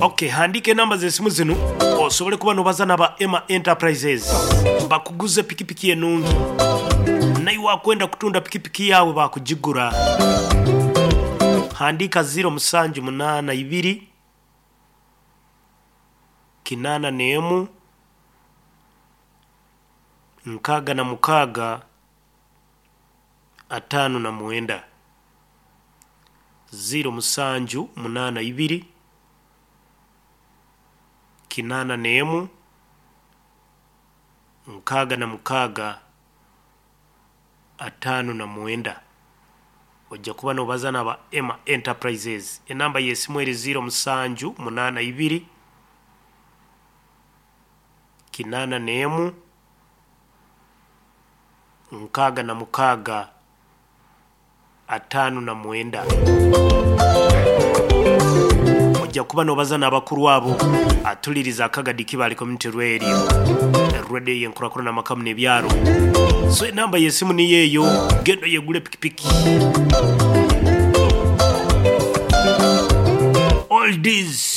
Okay, handiika enamba z'esimu zinu osobole kuba nobaza naba Emma Enterprises bakuguze pikipiki enungi. Naiwe wakwenda kutunda pikipiki yaawe bakugigura. Handiika ziro musanju munaana ibiri kinaana n'emu 66 59. 0782 81 66 59. Ojja kuba nobaza naba Emma Enterprises. Enamba y'esimu eri 0782 81 66 59. Ojja kuba nobaza n'abakuru abo atuliriza akagadi Kibale Community Radio, radio y'enkurakurana amakamu n'ebyaro. So enamba y'esimu niyo eyo, genda oyegule pikipiki. All these